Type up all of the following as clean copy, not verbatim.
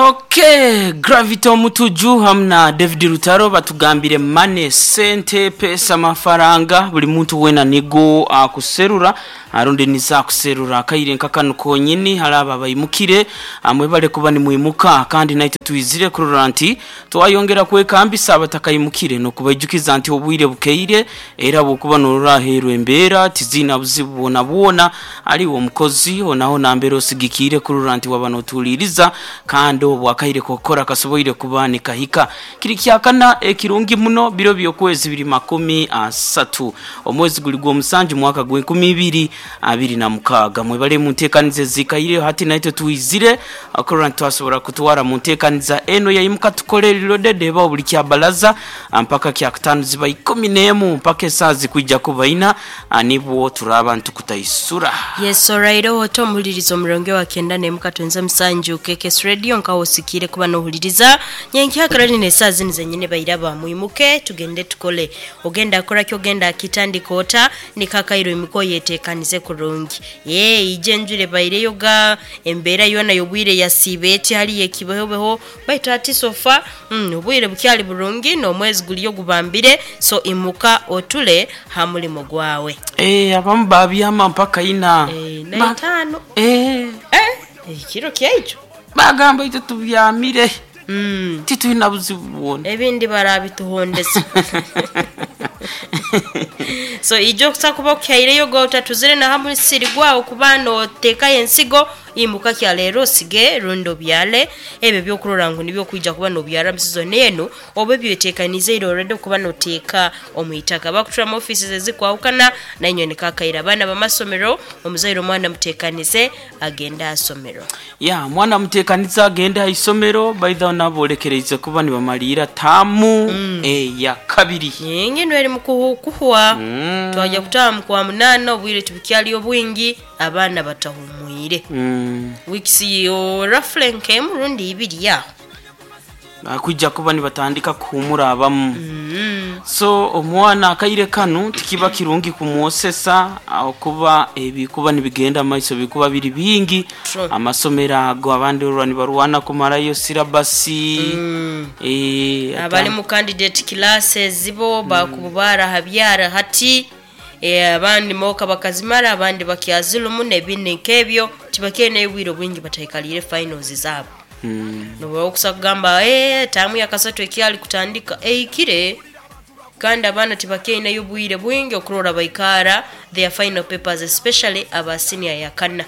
Okay, Gravity Omutuju hamu na David Rutaro batugambire money, sente, pesa, mafaranga buli muntu wena nigo akuserura rundi nizo akuserura. Akaire nka kanu konyini hali abo abaimukire mwebale kuba nimwimuka kandi naitwe twizire kurora nti twayongera kwekambisa abatakaimukire n'okubaijukiza nti obwire bukeire era bwokuba norora aheeru embeera tiziina buzibu bwonabwona haliwo omukozi honaho nambere osigikiire kurora nti waba notuhuliiriza kandi obwo akaire k'okukora kasoboire kuba nikahika. Kiri kyakana ekirungi muno biro by'okwezi biri 30 omwezi guli gw'omusanju mwaka gw'enkumi ibiri abiri na mukaaga. Mwebale muntekaniza ezikaireho hati naitwe twizire okurora nti twasobora kutwara muntekaniza eno ya Imuka Tukole Reloaded ebaho buli kyabalaza mpaka kyakutaano ziba ikumi n'emu mpaka esaaha zikwija kuba ina nibwo turaaba nitukutaisura. Yes alright ota omuhuliriza omurongo wa kenda nemu katwenze musanju KKS Radio nkaho osikiire kuba nohuliriza nyenkya Caroline esaaha zinu zenyine bairaba mwimuke tugende tukole ogenda kora ki ogenda kitandika ota nikakairo imuka oyetekanize kurungi yee ije enjura ebaireyo ga embeera yoona y'obwire yasiiba eti hariyo ekibehobeho baitu hati sofa obwire bukyali burungi n'omwezi guriyo gubambire so imuka otule ha murimo gwawe. Eeh abamu babyama mpaka ina. Eh, na itaano. Eeh. Eh, ekiro kyaijo. Bagamba itwe tubyamire. Titwina buzibu bwona. Ebindi barabituhondeza. So ijo okusa kuba okuhaireyo go otatuzire na ha musiri gwawe kuba noteekayo ensigo, imuka kyaleero osige rundi obyale ebyo ebyokurora ngu nibyo okwija kuba nobyara omu sizoni enu oba ebyotekaniize ira already okuba noteeka omu itaka. Abakutura mu offices ezikwahukana nainywe niko akaire. Abaana b'amasomero, omuzaire omwana muteekanize agende aha somero. Ya, mwana muteekanize agende aha isomero, baidha nabo bolekereize kuba nibamaliira taamu eya kabiri. Enginu eri mu kuhwa, twaja kutaaha mu kwa munaana obwire tibukyali obwingi, abaana batahumwire. Weeks roughly nk'emu rundi ibiri aho. Bakwija kuba nibatandika kuhumura abamu. So omwana akaire kanu tikiba kirungi kumwosesa ahakuba ebikuba nibigenda mu maiso bikuba biri bingi. True. Amasomero ago abandi orora nibarwana kumarayo sirabasi. Eh, Abali mu candidate classes bo bakuba barahabyara hati eh, abandi moka bakazimara abandi bakyazirumu n'ebindi nk'ebyo tibakyaine obwire obwingi bataikaliire finals zaabo. Noba okusa kugamba eeh taamu ya kasatu ekyali kutandika ehikire kandi abaana tibakyaineyo bwire bwingi okurora baikaara their final papers especially aba senior ya kana.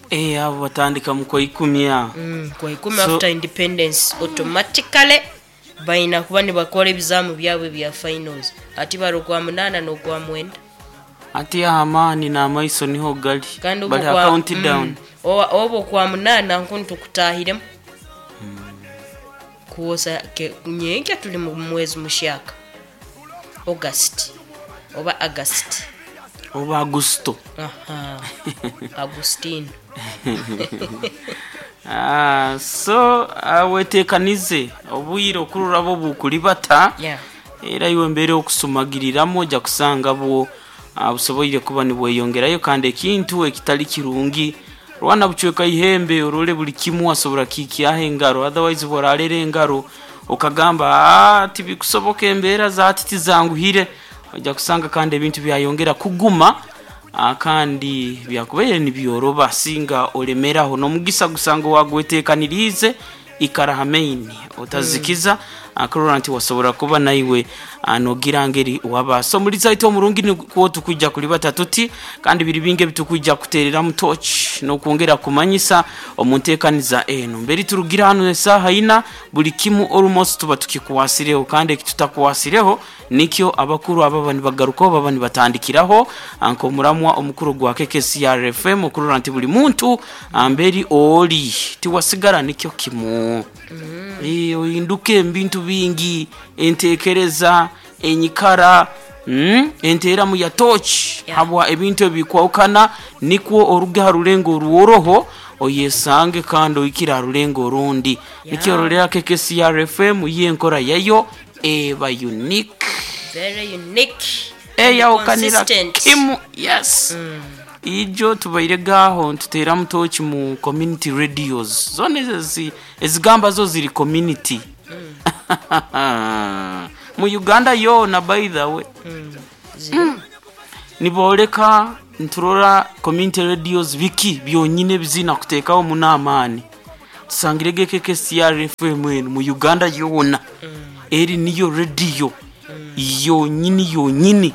Eh, abo batandika mu kwaikumi aho. Kwaikumi So- after independence automatically baina kuba nibakora ebizaamu byabo ebya finals hati bari okwa munaana n'okwa mwenda. Ati aho amaani n'amaiso niho gali. Kandi Bali obwo ha kwa count down. oba okwa munaana nkunu tukutaahiremu kwosa ke nyenkya turi mu mwezi mushyaka August oba August. Oba Agusto. Aha, Agustino. Ah, so ah, wetekanize obwire okurora bwo bukuribata Yeah. era iwe embeera okusumagiriramu oja kusanga bwo ah, busoboire kuba nibweyongerayo kandi ekintu ekitali kirungi rwana bucweka ihembe orole buli kimu wasobora kikyaho engaro otherwise bworarera engaro okagamba ah, tibikusoboka embeera zati tizanguhire oja kusanga kandi ebintu byayongera kuguma ah, kandi byakubaire nibyoroba singa olemeraho n'omugisa gusanga owagwetekaniriize ikara ha main otazikiza akurora nti wasobora kuba naiwe ah, nogira ngeri waba so muliza itwe omurungi nikwo tukwija kulibata tuti kandi biri bingi ebitukwija kutereramu torch n'okwongera kumanyisa omu nteekaniza eno mberi turugira hanu esaaha ina buli kimu almost tuba tukikwasireho kandi ekitutakwasireho nikyo abakuru ababa nibagarukaho baba nibatandikiraho nk'omuramwa omukuru gwa KKCR FM okurora nti buli muntu amberi oli tiwasigara nikyo kimu Eh, ohinduke ebintu bingi entekereza enyikara enteeramu ya torch Yeah. habwa ebintu ebikwahukana nikwo oruge ha rulengo orworoho oyesange kandi ohikire ha rulengo orundi Yeah. nikyo ororera KKCR FM yo enkora yayo eba unique Very unique. and eyawukanira consistent. kimu yes. Ijo tubaire gaho ntuteeramu toki mu community radios zona ezigamba zo ziri community mu Uganda yoona. By the way, nibooleka nturora community radios biki byonyine bizina kuteekaho muno amaani. Tusangire KKCR FM enu mu Uganda yoona eri niyo rediyo yonyini yonyini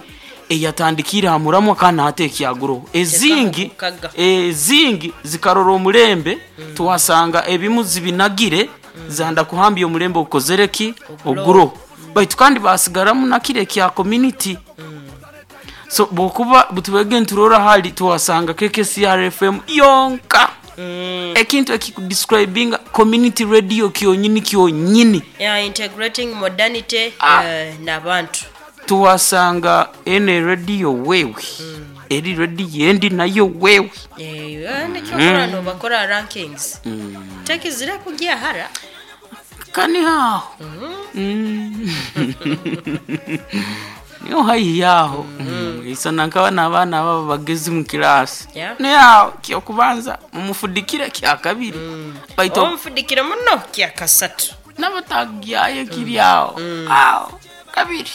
eyatandikire ha muramwa kandi hati ekyaguroho ezingi. Mukaga. Ezingi zikarora omulembe, twasanga ebimu zibinagire zanda kuhambya omulembe ogukozere ki oguroho, baitu kandi basigaramu nakire kya community. So bwokuba butubege nturora hali twasanga KKCR FM yonka, ekintu ekikudescribinga community radio kyonyini kyonyini. Yeah, integrating modernity n'abantu. Tuwasanga ene radio wewe eri radio endi nayo wewe. Nikyokora nobakora rankings tekizire kujya hara. Kani haho. Niyo haihi yaho. Isana nkaba n'abaana baba bagezi mu kirasi. Niyaho kyokubanza mumufudikire kya kabiri baitu omufudikire muno kyakasatu. N'abatagyayo kiri aho aho kabiri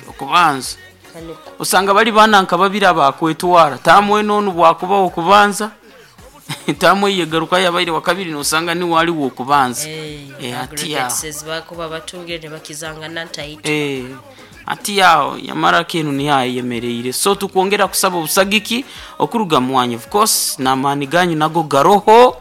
kyokubanza. Kaniko. Osanga bali bana nka babiri abakwetwara tamwe nonu bwakuba okubanza tamwe yegaruka yabaire wa kabiri nosanga ni wali wokubanza. Ati yaho. Aggregates bakuba batungire ne bakizangana ntaito. Ati yaho yamara kenu niyayemereire, so tukwongera kusaba obusagiki okuruga mwanyu. Of course n'amaani ganyu nago garoho.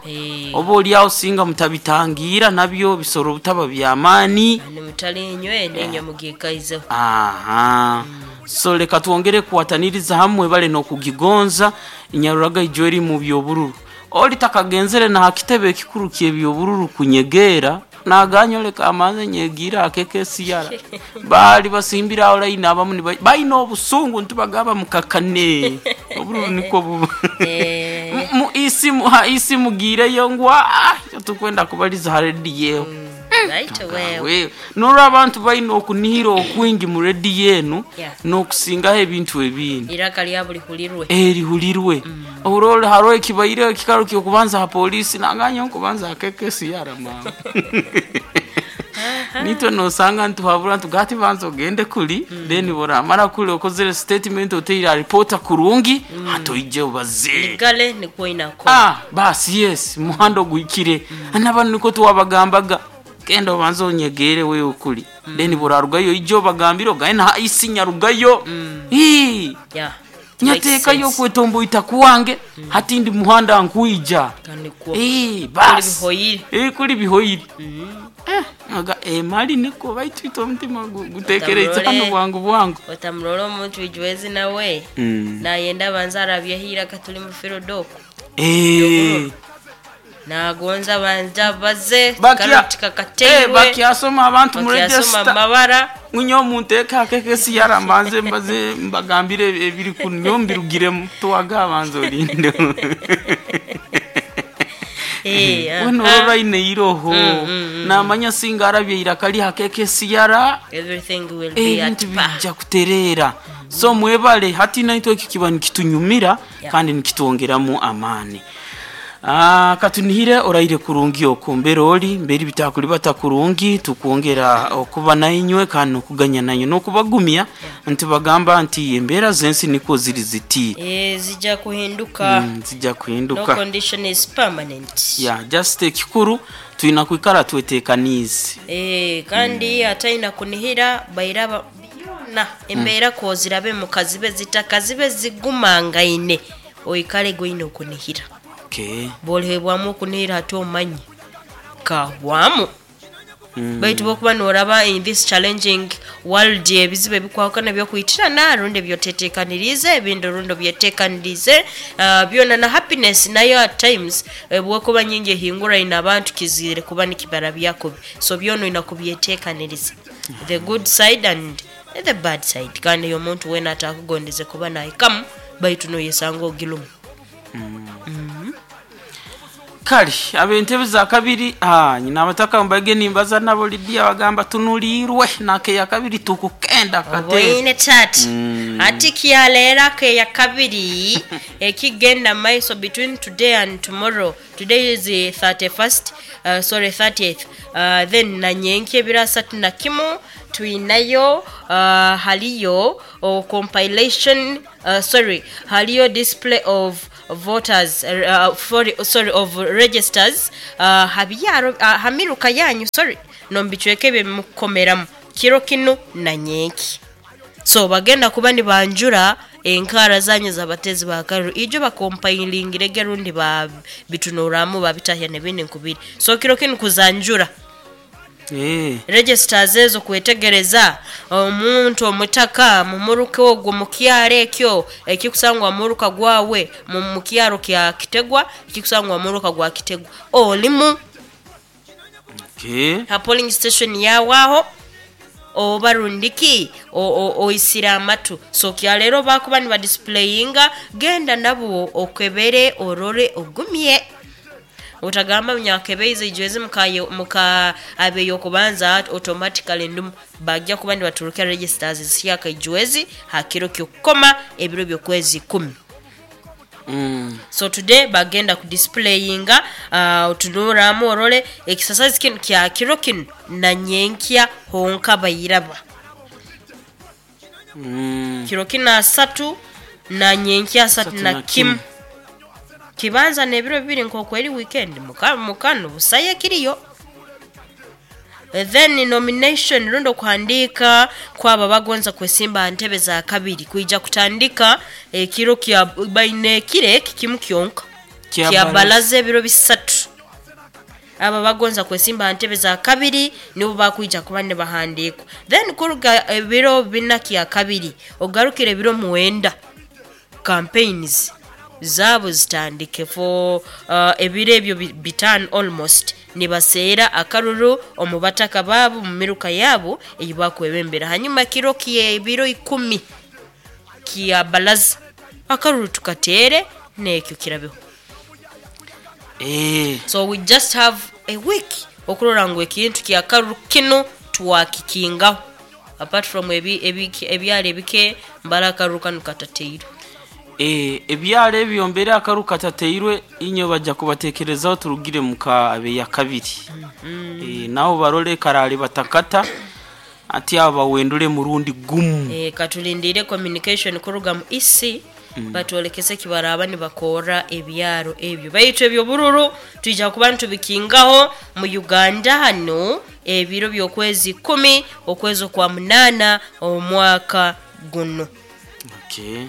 Oba oliaho singa mutabitangira nabyo bisoro butaba byamaani. Nimutali inywe nenywe mugikaizeho. Aha, so leka twongere kuwataniriza hamwe bale n'okugigonza inyaruraga ijo eri mu byobururu oli takagenzere na hakitebe ekikuru kyebyobururu kunyegeera naganya leka amanze nyegira akekesiyara bali basimbira aho layini abamu balina obusungu ntibagaba mukakane obururu niko buba. Ha isi mugireyo ngu "Ah, tukwenda kubaliza ha rediyo." Right wewe. Wewe nolwo abantu balina okunihira okwingi mu rediyo enu n'okusingaho ebintu ebindi. Iraka lya buli hulirwe. Erihulirwe orole haro ekibaire ekikaro kyokubanza ha polisi nanganya nkubanza akekesiyara mama nitwe nosanga ntuhabura ntugati banza ogende kuli then boramara kuli okozere statement oteire reporter kurungi hatoije obaze. Gale nikwo inakora. Ah, basi yes muhanda ogwikire n'abantu niko tuwabagambaga genda obanze onyegere wewe ukuli then burarugayo ijo obagambire ogaye na isi nyarugayo. Ii, nyateekayo okwetomboita kuwange hati ndi muhanda nkwija. Kaniko. Ii, basi. Bihoyire. Kuli bihoyire. Aga emali niko baitwita omutima gutekereize hano Otamurore. bwangu bwangu. Otamurora omuntu ijwezi nawe nayenda abanza arabyeho iraka tuli mu firodoko. Nagonza banza baze karoti kakateirwe. Bakyasoma abantu mu Bakyasoma register amabara. Munyo omuntu akekesi yaramanze mbaze mbagambire ebiri kunyo mbirugiremu tuwaga abanza olinde. Weno olwaine iroho namanya singa arabye iraka lihakekesi yara. Everything will be at ebintu par. bijja kutereera. So mwebale hati naitwe eki kiba nikitunyumira kandi nikitwongeramu amaani. Ah, katunihire oraire kurungi oku mbere oli mbere bitakulibata kurungi tukwongera okuba nainywe kandi nokuganya nanywe nokubagumya nti bagamba nti embeera z'ensi niko ziri ziti. Zijja kuhinduka. Zijja No kuhinduka. condition is permanent. Yeah, just ekikuru tulina kwikara twetekaniize. Kandi ataina kunihira bairaba byona embeera kozirabe mukazibe zitaka zibe zigumangaine oikale goine okunihira. Bolihebwamu okunihira hati omanye kahwamu baitu bokuba noraba in this challenging world ebizibu ebikwahukana byokwitirana rundi ebyotetekanirize ebindi rundi obyetekanirize, byona na happiness nayo at times bwokuba nyingi ehinguraine abantu kizire kuba nikibara byakubi, so byona oyina kubyetekaniriza the good side and the bad side kandi oyo omuntu wena atakugondeze kuba nahikamu baitu noyesanga ogilumu. Kale ab'entebe za kabiri, nyina abataka mbage nimbaza nabo Lidia bagamba tunulirwe nakeya kabiri tukukenda kate. Obwoine tata. Ati kyaleero akeya kabiri ekigenda maiso between today and tomorrow. Today is the 31st, sorry, 30th, then nanyenki ebiro 31 twinayo, haliyo compilation, sorry, haliyo display of voters, sorry, of registers, habyaro, hamiruka yanyu, sorry, nombicweke byemukomeramu kiro kinu nanyenki. So bagenda kuba nibanjura enkara zanyu z'abatezi ba karuru ijo bakompailingirege rundi babitunuramu babitahya nebindi nkubiri. So kiro kinu kuzanjura registers ezo, kwetegereza omuntu omutaka mumuruka ogwo mukyaro ekyo ekikusangwa muruka gwawe mukyaro kya Kitegwa, ekikusangwa muruka gwa Kitegwa olimu ha polling station yawaho oba rundiki oisire amatu. So kyaleero bakuba nibadisplayinga, genda nabo okebere orore ogumye, utagamba myakebeize ijwezi muka abeyo kubanza automatically ndumu. Bajja kuba nibaturukira registers zishyaka ijwezi hakiro kyokukoma ebiro byokwezi 10. So today bagenda kudisplayinga, otunuramu orole exercise kinu kya kiro kinu na nyenkya honka bayiraba. Kiro kinu 30 na nyenkya 31 na kimu. Kimu. Kibanza n'ebiro bibiri nkokweri weekend mukano busaye kiriyo. Then nomination rundo kuhandika kwaba bagonza kwesimba ntebe za kabiri kuija kutandika ekiro kya baine kire kimu kyonka Kya kya balaza. Balaza ebiro 3. Aba bagonza kwesimba ntebe za kabiri nibo bakwija kuba ne bahandikwa, then kuruga ebiro 4 kya kabiri ogarukire ebiro 9 campaigns zaabo zitandike for ebiro ebyo 5 almost nibaseera akaruru omu bataka baabo mu miruka yaabo eyi bakwebembera. Hanyuma kiro kyebiro 10 kya balaza akaruru tukateere n'ekyo kirabeho. So we just have a week okurora ngu ekintu kyakaruru kinu twakikingaho, apart from ebyalo ebike mbara akaruru kanu katateirwe. Ebyalo ebyo mbere akaru katateirwe inyo bajja kubatekerezaho turugire muka abeya kabiri. Nabo barole karale batakata ati aba bawendule murundi gumu. Katulindire communication kuruga mu EC batwolekese kibaraba nibakora ebyaro ebyo, baitu ebyo bururu twija kuba nitubikingaho mu Uganda hano ebiro by'okwezi 10 okwezi kwa 8 omwaka guno. Okay.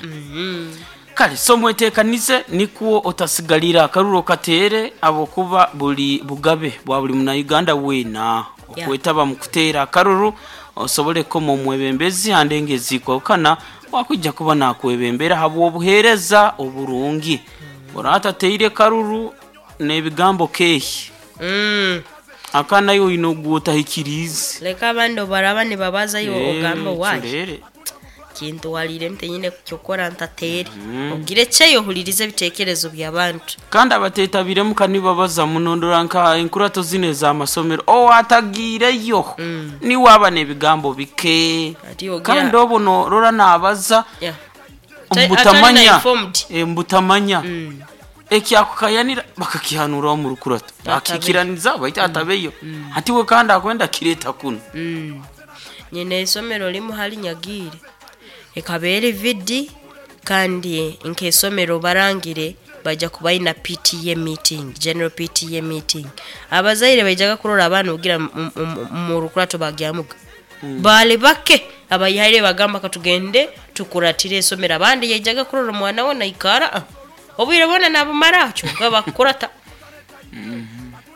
Kale so mwetekanize nikuwo otasigalira akaruro katere abo kuba buli bugabe bwa buli muna Uganda wena okwetaba mu kuteera akaruru osobole koma omwebembezi handenge zikwawukana wakujja kuba nakwebembera habw'obuheereza oburungi. Oratateire karuru n'ebigambo kehi akanayo oyine ogwotahikiriize. Leka abandi obaraba nibabazayo ogamba wayi Kirere. Kintu walire ntenyine kyokora ntatere ogire kyeyo ohulirize ebitekerezo by'abantu. Kandi abatetabiremu kanibabaza munondora nka enkurato zino ez'amasomero owatagiireyo niwaba n'ebigambo bike. Ati ogira- Kandi obu norora nabaza Yeah. Atari na mbutamanya. informed. Mbutamanya ekyakukayanira bakakihanuraho mu rukurato Atabeyo. bakikiraniza baita atabeyo ati we kandi akwenda kireta kuno. Nyina isomero limu hali nyagire ekabeera vidi kandi nk'esomero barangire bajja kubaina PTA meeting, general PTA meeting. Abazaire baijaga kurora abaana ogira mu rukurato bagyamuga bali bake abayihaire bagamba katugende tukuratire esomero, abandi yaijaga kurora omwana we naikara, obwire bwona nabumara kyonka bakukurata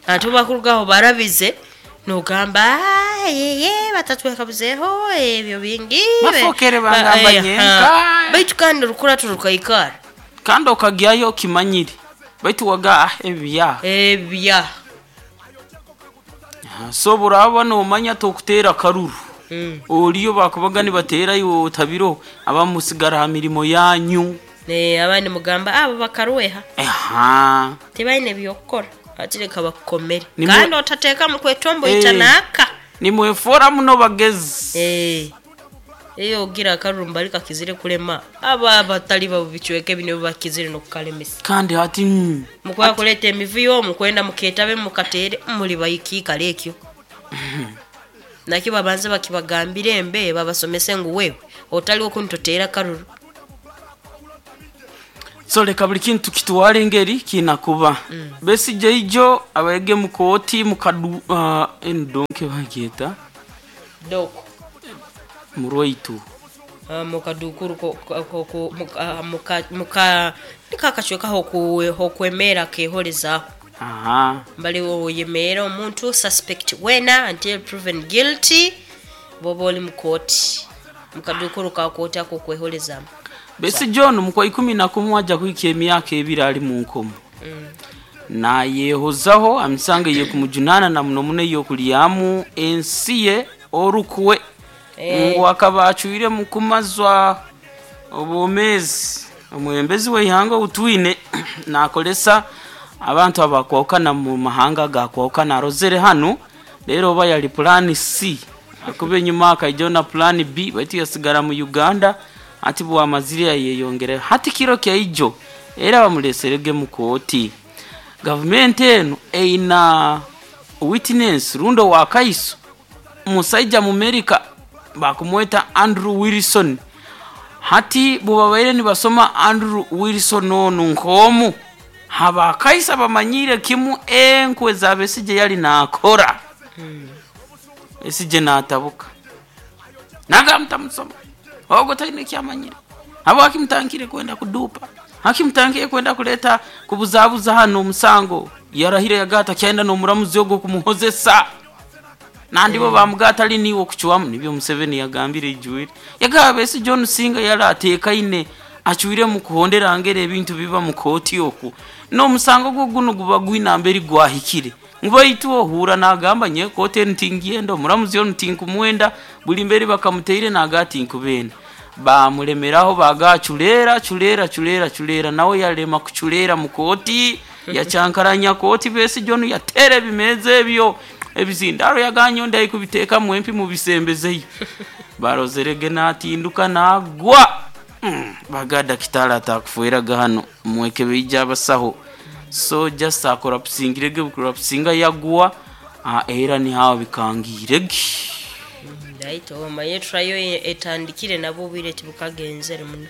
ate bakurugaho barabize nogamba "Ah, yeye batatwekabuzeho ebyo bingi." Bafokere bangamba nyenka. Baitu kandi orukurato rukaikara. Kandi okagyayo okimanyire baitu waga ebya Ebya. So buraba nomanya tokuteera karuru oliyo bakubaga nibateerayo otabiro abamusigara ha mirimo yanyu. Abandi mugamba abo bakaruweha Aha. tibaine byokukora. Ati leka bakukomere. Nimwe- Kandi otateekamu kwetomboita Eh. naaka. Nimwefora muno bagezi. Eh. Eyo ogira akarumba ariko akizire kulema aba abatali babo bicweka bino bakizire nokukalemesa. Kandi hati Mukwaya kuleeta emivuyo mukwenda muketabe mukatere muli bayikiikala ekyo. Nakyo babanze bakibagambire embe babasomese ngu wewe otaliwo kuntoteera karuru. So leka buli kintu kitwale engeri kinakuba. Besigye ijo abaege mu kooti mukadu endonke bagyeta Doko. murwaitu. Mukadukuru ko muka muka nikakacweka hokwemera keholezaho. Aha. Mbali woyemera omuntu suspect wena until proven guilty boba oli mukooti mukadukuru ka kooti ako kweholezamu. Besigye ono mukwa 11 ajja kuhika emyaka 2 ali mu nkomo. Nayehozaho amisango ey'okumujunana na muno muno ey'okulyamu ensi ye orukwe. Ngu akaba acwire mu kumazwa obwomeezi. Omwebembezi w'eihanga outwine nakolesa abantu abakwahukana mu mahanga gakwahukana arozere hanu rero oba yali plan C akuba enyuma akaija na plan B baitu yasigara mu Uganda ati bwamazire yayeyongera hati kiro kyaijo era bamuleserege mu kooti. Gavumenti eno eina witness rundo wa kaiso musaija mu America bakumweta Andrew Wilson. Hati bubabaire nibasoma Andrew Wilson onu nk'omu habakaisa bamanyire kimu enkwe za Besigye yali nakora. Besigye natabuka nagamutamusoma ogo taine kyamanyire abo akimutankire kwenda kudupa akimutankire kwenda kuleta kubuzabuza hano omusango yarahire yagata kyenda n'omuramuzi ogwo kumuhozesa nandi bo bamugata ali niwe okucwamu nibyo Museveni yagambire ijwire yagaba Besigye ono singa yali ateekaine acwire mu kuhondera ngeri ebintu biba mu kooti okwo n'omusango gwo guno guba gwina mberi gwahikire ngubaitu ohura nagamba nye kooti enu tingyenda omuramuzi onu tinkumwenda buli mberi bakamuteire naga tinkubenda bamulemeraho baga chulera chulera chulera chulera nawe yalema kuchulera mu kooti yachankaranya kooti Besigye ono yatera ebimeza ebyo ebizindaro yaganyo ndayi kubiteeka mwempi mubisembezeyo barozerege natinduka nagwa. Baga dakitari atakufueraga hano mwekebeija abasaho so just akorapusingirege bukorapusinga yagwa era nihawe bikangirege. Right, omaye trayo etandikire nabo obwire tibukagenzere muno.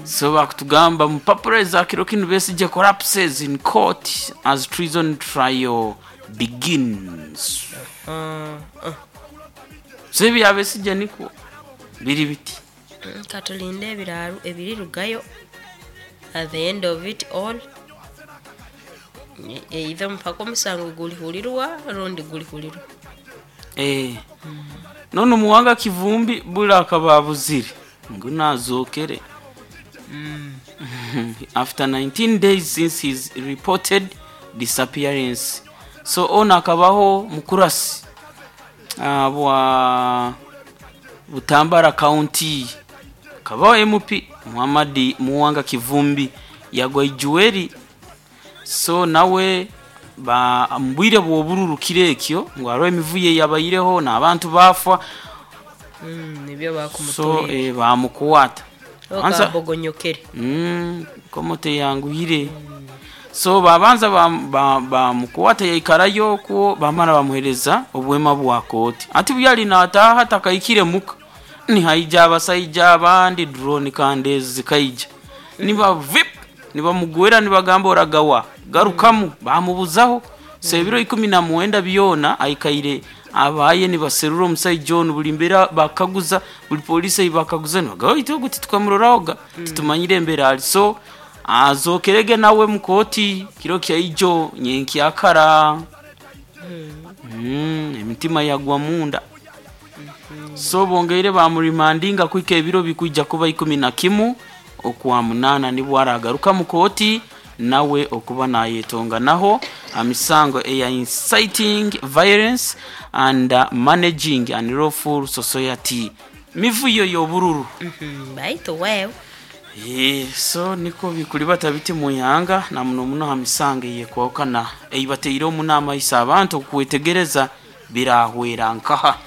So bakutugamba mupapuro za kiro kinu Besigye collapses in court as treason trial begins. So ebya Besigye niko biri biti. Katulinde ebiraaru ebirirugayo at the end of it all either mpaka omusango gulihulirwa rundi gulihulirwa. None Muwanga Kivumbi bula akababuzire ngu nazokere. After 19 days since his reported disappearance. So ono akabaho mukurasi bwa Butambala County akabaho MP Muhammad Muwanga Kivumbi yagwa ijuweri. So nawe ba mbwire bwobururukire ekyo ngo hariho emivuyo yabayireho n'abantu bafa. Nibyo So bakumutoye. Bamukwata Anza- Okabogonyokere. Komote yanguhire. So babanza bamukwata yaikarayo okwo bamara bamuhereza obwema bwa kooti ati buyali nataha takaikire muka nihaija abasaija abandi drone kandi ezi zikaija niba vip nibamugwera nibagamba oragawa garukamu bamubuzaho. So ebiro 19 byona aikaire abaye nibaserura omusaija onu buli mbeera bakaguza buli polisi bakaguza nibagamba oitu ogu titukamurorahoga titumanyire embera ali. So azokerege nawe mukooti kiro kyaijo nyenkyakara. Emitima yagwa munda. So bongeire bamurimandinga kwika ebiro bikuija kuba 11 okwa 8 nibwo aragaruka mukooti nawe okuba nayetonga naho amisango eya inciting violence and managing unlawful society mivuyo y'obururu. Baitu wewe So niko bikulibata biti muihanga na muno muno ha misango eyekwahukana eibateire omu n'amaiso abantu okwetegereza birahwera nkaha.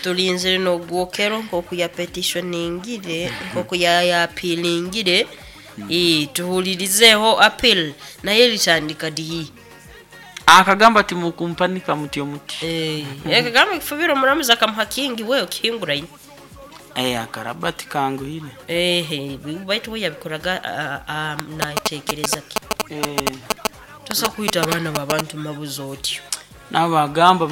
Tulinzire n'ogwokero nk'oku yapetissioningire, nk'oku yaapilingire. Tuhulirizeho appeal naye litandika dihi. Akagamba ati mukumpanika mutyo muti. Ekagamba ekifubiro omuramuzi akamuha kingi we okihinguraine. Akaraba tikanguhire. Ehe, baitu we yabikoraga natekereza ki? Tosa kwita abaana babantu mabuzi otyo. Nabo bagamba.